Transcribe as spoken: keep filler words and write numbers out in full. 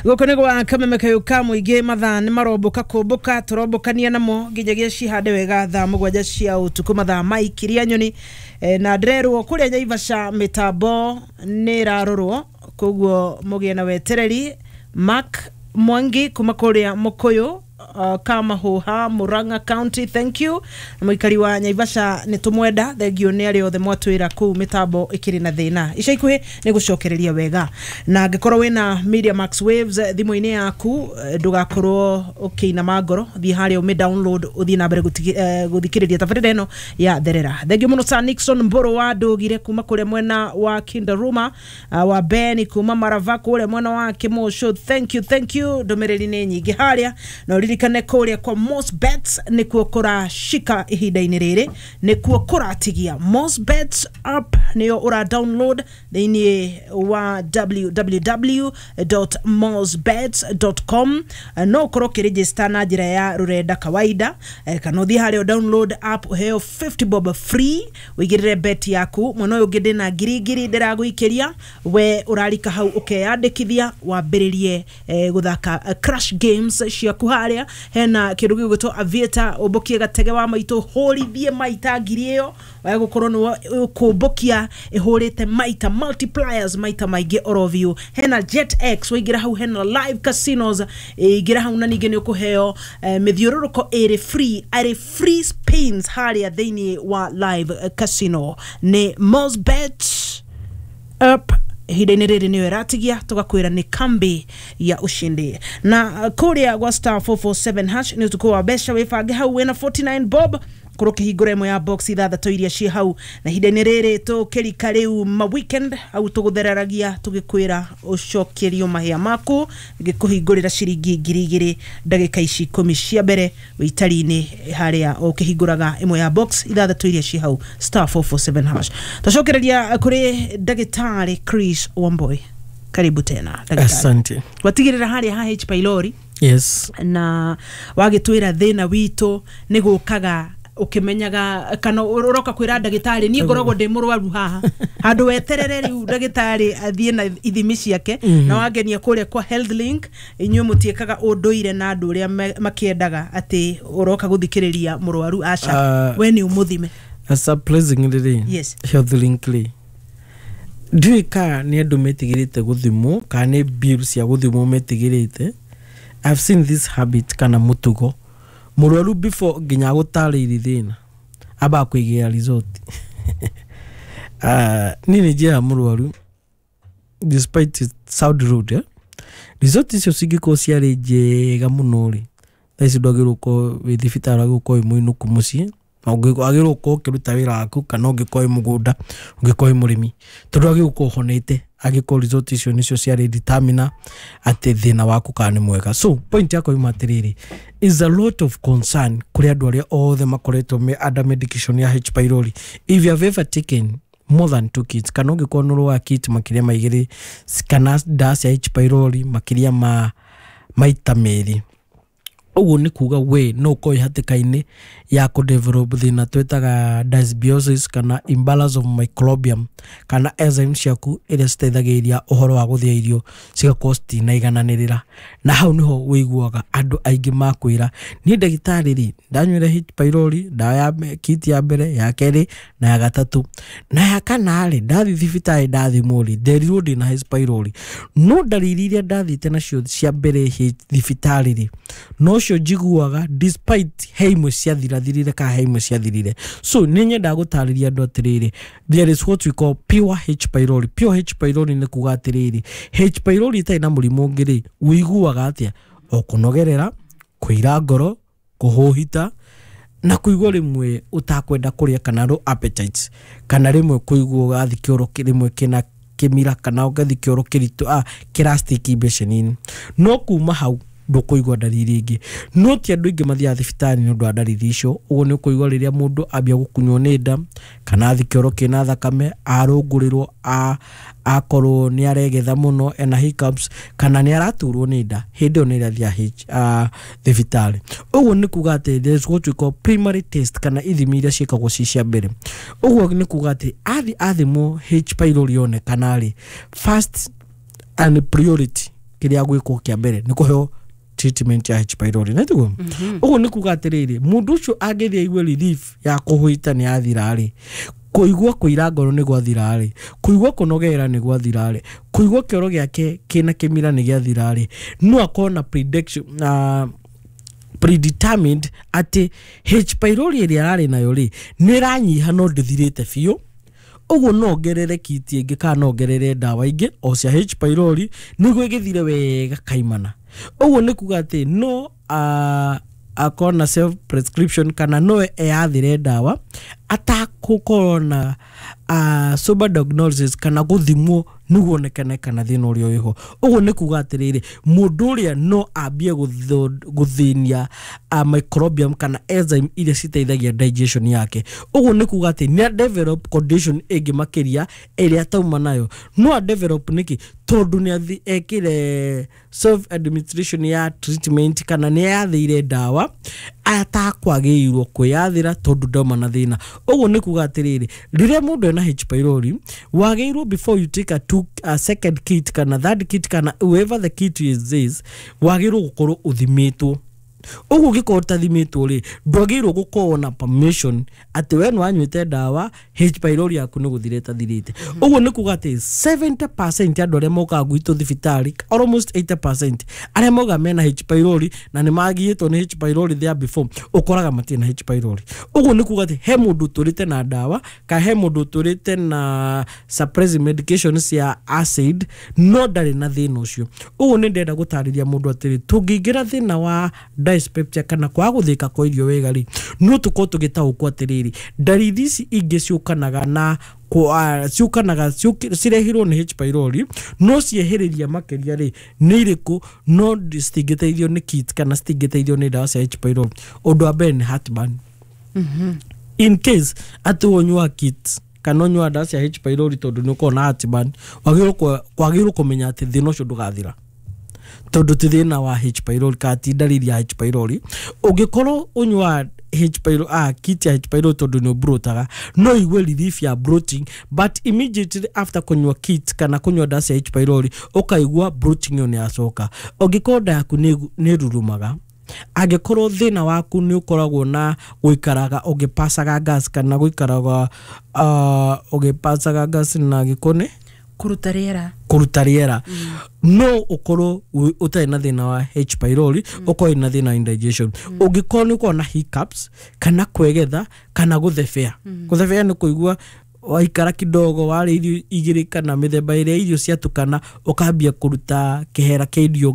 Gũkũ nĩ gwa Kameme Kayũ ka Mũingĩ. Mathaa nĩ marombũka kũmbũka, tũrombũkania namo nginyagia cihande wega thaa mũgwanja cia ũtukũ, mathaa maikiria nyoni. e, na ndĩrerwo kũrĩa Naivasha mĩtambo nĩ ĩrarorwo, koguo mũgĩe na wetereri. Mark Mwangi kuma kũrĩa Mũkũyũ, uh, Kamahuha, Murang'a County, thank you. Na mũikari wa Naivasha nĩ tũmwenda, thengio nĩ arĩa othe mwatwĩra kũu mĩtambo ĩkĩrĩ na thĩna. Ica ikuhĩ nĩ gũcokereria wega, na angĩkorwo wĩna Media Max Waves eh, thimũ-inĩ yaku, eh, ndũgakorwo ũkĩinama ngoro. Thiĩ harĩa ũmĩ download, ũthiĩ na mbere gũtigi- eh, gũthikĩrĩria tabarĩra ĩno ya Therera. Thengio mũno Sir Nixon Mbũrũ wa Ndũgire kuma kũrĩa mwena wa Kindaruma, uh, wa Ben kuma Marava kũrĩa mwena wa Kĩmũcũ, thank you, thank you. Ndũmĩrĩri nĩ nyingĩ harĩa, na ũririkane kũrĩa kwa Most Bets nĩkuo kũrashika ihinda-inĩ rĩrĩ, nĩkuo kũratigia. Most Bets app nĩyo ũra download thĩinĩ wa w w w dot mosbets dot com. No ũkorwo ũkĩregister na njĩra ya rũrenda kawaida, eh, kana ũthiĩ harĩa download app, ũheo fifty bob free, ũigĩrĩre bet yaku. Mwena ũyũ ũngĩ ndĩna ngiri ngiri ndĩragũikĩria, we ũrarika hau ũkeyandĩkithia, wambĩrĩrie eh, gũthaka eh, crash games ciaku. Harĩa hena kĩndũ gĩgwĩtwo Aviator, ũmbũkie gatege wa maitũ, hũrithie maita ngiri ĩyo wae gũkorwo nĩwe ũkũmbũkia ĩhũrĩte maita multipliers maita maingĩ oro biũ. Hena Jet X, waingĩra hau hena live casinos, ingĩra hau na ningĩ nĩ ũkũheo eh, mĩthiũrũrũko ĩrĩ free, arĩ free spins harĩa thĩinĩ wa live eh, casino. Nĩ Mosbet app ihinda-inĩ rĩrĩ nĩyo ĩratigia, tũgakwĩra nĩ kambi ya ushindi. Na uh, kũrĩa gwa star four four seven hash nĩ ũtukũ wa mbeca. Wĩbange hau wĩna forty-nine bob, korwo ũkĩhingũra ĩmwe ya box ithathatũ iria ciĩ hau. Na ihinda-inĩ rĩrĩ tũkĩrika rĩu ma weekend hau, tũgũthereragia tũgĩkwĩra ũcokerio mahĩa maku, ngĩkũhingũrĩra ciringi ngiri igĩrĩ ndagĩka ici ikũmi cia mbere wĩitari-inĩ harĩa ũkĩhingũraga ĩmwe ya box ithathatũ iria ciĩ hau, star four four seven hash. Twacokereria kũrĩ ndagĩtarĩ Chris Wamboi. Karibu tena, ndagĩtarĩ. Asante. Watigĩrĩra harĩa ha H pylori Yes. na wagĩtwĩra thĩna witũ nĩ gũkaga ũkĩmenyaga kana ũroka kwĩra ndagĩtarĩ, niĩ ngoragwo ndĩ mũrwaru haha, handũ weterere rĩu ndagĩtarĩ athiĩ na ithimi ciake. Na wangenia kũrĩa kwa Health Link, inyuĩ mũtiĩkaga ũndũire na andũ ũrĩa me- makĩendaga atĩ ũroka gũthikĩrĩria mũrwaru, aca, Ah. we nĩ ũmũthime. Surprisingly rĩ, Yes. Health Link rĩ, ndiũĩ kana nĩ andũ metigĩrĩte gũthimwo kana nĩ bill cia gũthimwo metigĩrĩte. I've seen this habit kana mũtugo, mũrwaru before nginya agũtarĩirie thĩna ambaga kũigĩra result. uh, niĩ nĩ njĩraga mũrwaru, despite it sound rude, eh? Result icio cingĩkorwo ciarĩ njega mũno rĩ, thaa ici ndwagĩrĩirwo gũkorwo wĩ thibitarĩ, wagĩrĩirwo gũkorwo wĩ mũinũku mũciĩ na ũngĩ- wagĩrĩirwo gũkorwo ũkĩruta wĩra waku, kana ũngĩkorwo wĩ mũgũnda, ũngĩkorwo wĩ mũrĩmi, tondũ wagĩrĩirwo gũkorwo ũhonete angĩkorwo result icio nĩcio ciarĩ determiner atĩ thĩna waku kana nĩ mwega. So point yakwa yuma atĩrĩrĩ, is a lot of concern kũrĩ andũ arĩa othe makoretwo me under medication ya H pylori. If you have ever taken more than two kits, kana ũngĩkorwo nĩ ũrĩ kit makĩria ma igĩrĩ kana ndawa cia H pylori makĩria ma maita merĩ, ũguo nĩ kuga we no ũkorwo wĩ hatĩka-inĩ ya kũdevelop thĩna twĩtaga dysbiosis kana imbalance of microbiome, kana enzymes ciaku iria citeithagĩrĩria ũhoro wa gũthĩa irio cigakorwo citinaigananĩrĩra. Na hau nĩho wĩiguaga andũ aingĩ makwĩra, "Niĩ ndagĩtarĩ rĩ, ndanyuire H pylori ndawa ya kit ya mbere, ya kerĩ na ya gatatũ na ya kana rĩ, ndathiĩ thibitarĩ ndathimwo rĩ, nderirwo ndĩna H pylori, no ndariri iria ndathiĩte nacio cia mbere hĩ- thibitarĩ rĩ, nocio njiguaga, despite he imwe ciathirathirire kana he imwe ciathirire." So nĩ nyendaga gũtarĩria andũ atĩrĩrĩ, there is what we call pure H pylori. Pure H pylori nĩ kuga atĩrĩrĩ, H pylori ĩtarĩ na mũrimũ ũngĩ rĩ, ũiguaga atĩa? O kũnogerera, kũira ngoro, kũhũhita na kũigua rĩmwe ũtakwenda kũrĩa kana low appetite, kana rĩmwe kũigua ũgathiĩ kĩoro rĩmwe kĩna kĩmira kana ũgathiĩ kĩoro kĩritũ, ah, kĩrastiki mbeceni-inĩ. No kuma hau ndũkũigua ndariri ingĩ. No ti andũ aingĩ mathiaga thibitarĩ nĩ ũndũ wa ndariri icio. Ũguo nĩ ũkũigua rĩrĩa mũndũ ambia gũkunywo nĩ nda kana athi kĩoro kĩna thakame, arũngũrĩrwo, a- akorwo nĩ aregetha mũno, ena hiccups, kana nĩ araturwo nĩ nda, hĩndĩ ĩyo nĩ ĩrĩa athiaga thibitarĩ. Ũguo nĩ kuga atĩ there is what we call primary test kana ithimi iria ciĩkagwo ci cia mbere. Ũguo nĩ kuga atĩ athi athimwo H pylori yonekana rĩ, first and priority Kĩrĩa gwĩkwo kĩa mbere nĩ kũheo treatment ya H pylori, na tiguo ũguo nĩ kuga atĩrĩrĩ, mũndũ ũcio angĩthiĩ aigue relief ya kũhũita nĩ yathira rĩ, kũigua kũira ngoro nĩ gwathira rĩ, kũigua kũnogera nĩ gwathira rĩ, kũigua kĩoro gĩake kĩna kĩmira nĩ gĩathira rĩ, no akorwo na prediction, uh, predetermined atĩ H pylori ĩrĩa ararĩ nayo rĩ nĩ ĩranyiha no ndĩthirĩte biũ. Ũguo no ongerere kit ĩngĩ kana no ongerere ndawa ingĩ o cia H pylori nĩguo ĩgĩthire wega kaimana. Ũguo nĩ kuga atĩ no uh, akorwo na self prescription kana no eyathĩre ndawa atakũkorwo na uh, sober diagnosis kana gũthimwo nĩguo onekane kana thĩna ũrĩa wĩho. Ũguo nĩ kuga atĩrĩrĩ, mũndũ ũrĩa no ambie gũtho- gũthĩnia uh, microbiome kana enzyme iria citeithagia digestion yake. Ũguo nĩ kuga atĩ nĩ develop condition ĩngĩ makĩria ĩrĩa atauma nayo. No a develop nĩkĩ? Tondũ nĩ athi ekire self administration ya treatment kana nĩ yathĩire ndawa atakwagĩrĩirwo kwĩyathĩra tondũ ndauma na thĩna. Ũguo nĩ kuga atĩrĩrĩ, rĩrĩa mũndũ ena H pylori, wagĩrĩirwo before you take a, two, a second kit kana third kit kana whoever the kit is this, wagĩrĩirwo gũkorwo ũthimĩtwo. Ũguo ũngĩkorwo ũtathimĩtwo rĩ, ndwagĩrĩirwo gũkorwo na permission atĩ we nĩ wanyuĩte ndawa, H pylori yaku nĩ gũthira ĩtathirĩte. Ũguo nĩ kuga atĩ seventy percent ya andũ arĩa mokaga gwitũ thibitarĩ, almost eighty percent arĩa mokaga mena H pylori na nĩ magiĩtwo nĩ H pylori there before, ũkoraga matirĩ na H pylori. Ũguo nĩ kuga atĩ he mũndũ ũtũrĩte na ndawa kana he mũndũ ũtũrĩte na suppressive medication cia acid no ndarĩ na thĩna ũcio. Ũguo nĩ ndĩrenda gũtarĩria mũndũ atĩrĩ, tũngĩingĩra thĩna wa dyspepsia kana kwaga gũthĩka kwa irio wega rĩ, no tũkorwo tũgĩtaũkwo atĩrĩrĩ, ndariri ici ingĩ ciũkanaga na kwa- ciũkanaga ciũki- cirehirwo nĩ H pylori no ciehereria makĩria rĩ nĩ irĩkũ, no citingĩteithio nĩ kit kana citingĩteithio nĩ ndawa cia H pylori. Ũndũ wa mbere nĩ heartburn. In case atĩ ũnyua kit kana ũnyua ndawa cia H pylori tondũ nĩ ũkoragwo na heartburn, wagĩrĩirwo kwa- kwagĩrĩirwo kũmenya atĩ thĩna ũcio ndũgathira tondũ ti thĩna wa H pylori kana ti ndariri ya H pylori. Ũngĩkorwo ũnyua H pylori, ah, kit ya H pylori tondũ nĩ ũbrotaga, no igue relief ya bloating, but immediately after kũnyua kit kana kũnyua ndawa cia H pylori, ũkaigua bloating ĩyo nĩ yacoka. Ũngĩkorwo nda yaku nĩ nĩ ĩrurumaga, angĩkorwo thĩna waku nĩ ũkoragwo na gũikaraga ũgĩpacaga gas kana gũikaraga uh, ũgĩpacaga gas na gĩkũnĩ, kũruta rĩera, kũruta rĩera, no ũkorwo wĩ- ũtarĩ na thĩna wa H pylori, ũkorwo wĩna thĩna wa indigestion. Ũngĩkorwo nĩ ũkorwo na hiccups kana kwegetha kana gũthebea, gũthebea nĩ kũigua waikara kidogo warĩa irio igĩrĩ kana mĩthemba ĩrĩa irio ciatukana ũkambia kũruta kĩhera kĩa irio.